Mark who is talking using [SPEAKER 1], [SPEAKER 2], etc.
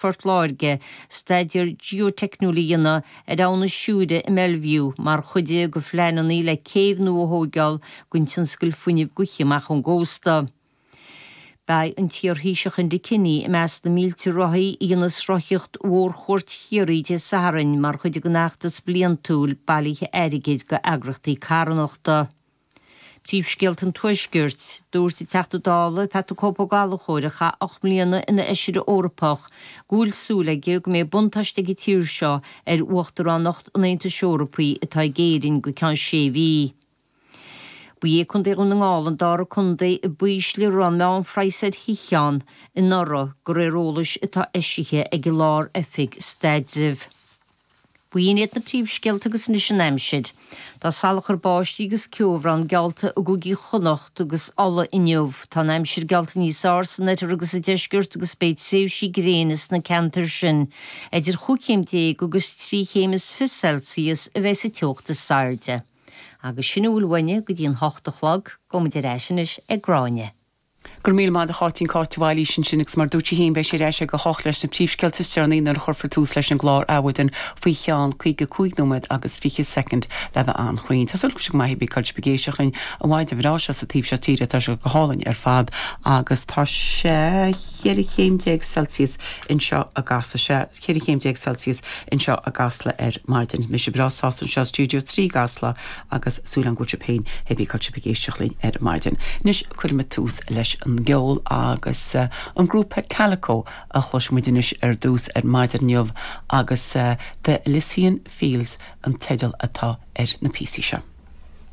[SPEAKER 1] Phort Láirge staidéar geoiteicniúil a dhéanamh ar Abha na Siúire i mBellevue mar chuid de phleananna le céibh nua a thóigeáil don tionscal fuinnimh gaoithe amach ón gcósta. Beidh an t-iarThaoiseach Enda Kenny i measc na mílte rothaí a dhéanfas rothaíocht mhórchuairt Chiarraí Dé Sathairn mar chuid den fheachtas bliantúil bailithe airgid do eagrachtaí carthanachta. Príomhscéalta an Tuaiscirt, Dúirt an Teachta Dála, Pat 'The Cope' Ó Gallchóir, a chaith 8 mbliana ina Fheisire Eorpach, go bhfuil súil aige go mbeidh buntáiste ag an tír seo ar Uachtaránacht an Aontais Eorpaigh atá ag Éirinn go ceann sé mhí. Ba é Contae Dhún na nGall an dara contae ba ísle a raibh an meánphraghas ar thithe ann anuraidh, de réir eolais atá eisithe ag an Lár-Oifig Staidrimh. B'in iad na príomhscéalta agus anois an aimsir. Tá salachar báistí agus ceobhrán geallta i gcúigí Chonnacht agus Uladh inniu. Tá an aimsir geallta níos fearr san oirthear agus sa deisceart agus beidh tréimhsí gréine sna ceantair sin. Idir chúig chéim déag agus 3 chéim is 20 Celsius a bheidh sa teocht is airde. Agus sin a bhfuil uainne go dtí an hocht a chlog. Gabhaimid ar ais anois ag Gráinne.
[SPEAKER 2] Go raibh míle maith agat a Cháitín, Cáit de Bhailís ansin agus mar a dúirt sí féin beidh sí ar ais ag a hocht leis na príomhscéalta is deireanaí nuair a chuirfear tús leis an gclár Adhmhaidin faoi cheann 55 nóiméad agus 20 soicind le bheith an-chruinn. Tá súil agam go bhfuil sibh go maith cibé cá bhfuil sibh ag éisteacht linn an mhaidin bhreá seo sa taobh seo tíre tá sé go hálainn ar fad agus tá sé 14 chéim Celsius anseo i gCasla sé 14 chéim Celsius anseo i gCasla ar maidin. Mise breá sásta anseo i Stiúideo 3 i gCasla agus súil agam go bhfuil sibh féin cibé cá bhfuil sibh ag éisteacht linn ar maidin. Anois cuirfimid tús leis an gceol agus an grúpa Calico a chloisfimid anois ar dtús ar maidin inniu agus The Elysian Fields an teideal atá ar na píosaí seo.